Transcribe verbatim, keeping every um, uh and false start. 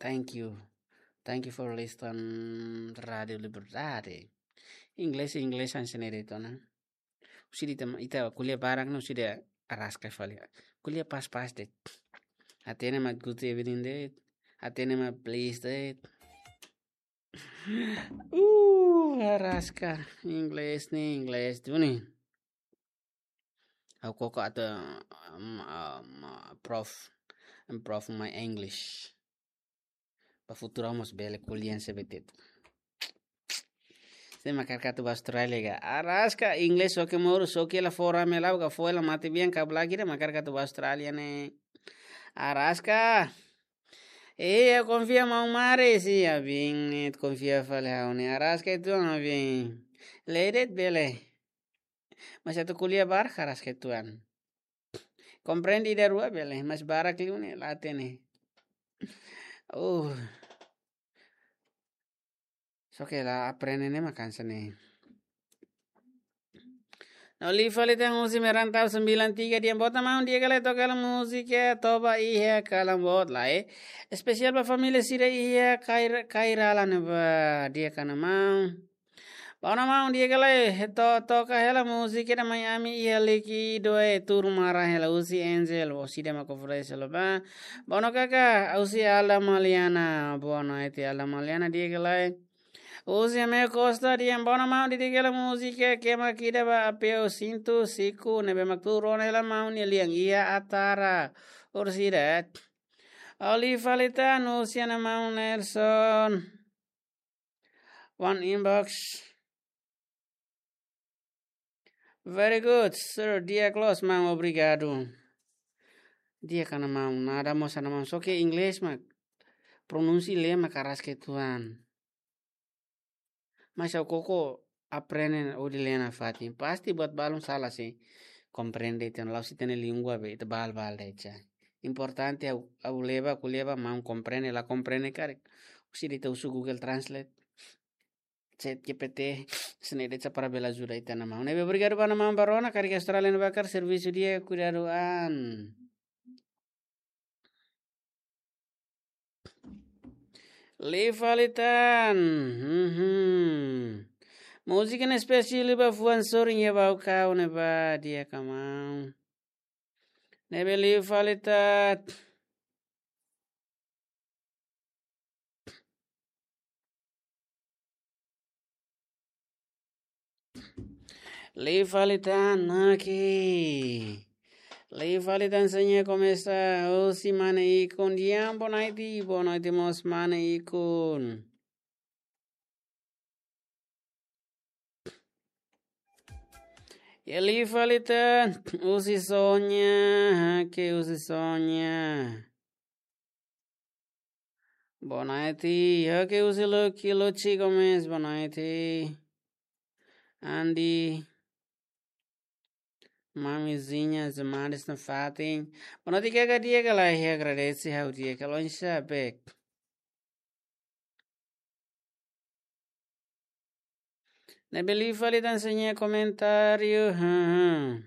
Thank you. Thank you for listen Radio Liberdade. Inglés, inglés hanesan ne'e de'it ona. Husi ita, ita ko'alia barak ne'e husi ita araska fali. Ko'alia pas-pas de'it. Hatene mak good evening de'it. Hatene mak please de'it. Uh, araska. Inglés ne'e, inglés duni. Ha'u koko atu, um, um, uh, prof, improve my English. Ba futuru mós bele ko'alia hanesan ne'e de'it. Sé mak hakarak atu ba Austrália ka? Araska, inglés oke moru, só ke la fora me la ka fo la mate bien ka blagi de mak hakarak atu ba Austrália ne'e. Araska. Eh, ha'u konfia maun Mari, si, abin, ne'e konfia fali ha'u ne'e. Araska itu abin. Lee de'it bele. Mas atu ko'alia barak araska uitoan. Komprende ida rua bele, mas barak liu ne'e la hatene. Uh. Só ke la aprende ne'e mak hanesan ne'e. No, liu fali tan husi Merantau sembilan tiga, di'ak, boot maun, di'ak ka lae, toka hela múzika Toba Iha Kalan Boot lae. Espesiál ba família sira iha Kair-, Kairala ne'ebá, di'ak ka lae maun. Boot maun, di'ak ka lae, to-, toka hela múzika ida Mai Ami Iha Líkidu, eh, tuur maran hela husi Angel, orsida mak oferese hela ba. Boot kaka, husi Alda Maliana, boot, ita Alda Maliana, di'ak ka lae. Husi Amel Costa, di'ak, boot maun, di'ak ka lae, múzika Kema Kida ba Apeu Sintu Siku, ne'ebé mak tuur ona hela maun nia lian iha Atara, orsida. Liu fali tan husi maun Nelson. One inbox. Very good, sir. Di'ak loos, maun, obrigadu. Di'ak ka lae maun, nada mós ka lae maun. Só ke inglés mak pronunsia lee mak araska uitoan. Mas ha'u koko aprende hodi lee nafatin. Pasti buat balun sala, si. Komprende, ita la'ós ita-nia língua be, ita bal-bal de'it. Importante ha'u, ha'u leba, ko'alia ba maun komprende, la komprende karik. Husi ita uza Google Translate. Chat G P T, hanesan ne'e de'it para bele ajuda ita-nia maun. Ne'ebé obrigadu ba maun Barona, karik Austrália ne'ebá karik servisu di'ak, kuidadu an. Liu fali tan. Mhm. Múzika ne'e espesiál ba fuan sorin iha Baucau ne'ebá, di'ak ka lae maun. Ne'ebé liu fali tan. Liu fali tan, oke. Liu fali tan, hanesan ne'e komesa husi mane Ikun, di'ak, boa noite, boa noite mós mane Ikun. Iha liu fali tan, husi Sonia, oke, husi Sonia. Boa noite, oke, husi Lucky, Lucy Gomes, boa noite. Andi. Mamizinha, Zemares nafatin. Boa noite, kaka, di'ak ka lae, agradese ha'u di'ak ka lae, oinsá bek. Ne'ebé liu fali tan, hanesan ne'e komentáriu, haha.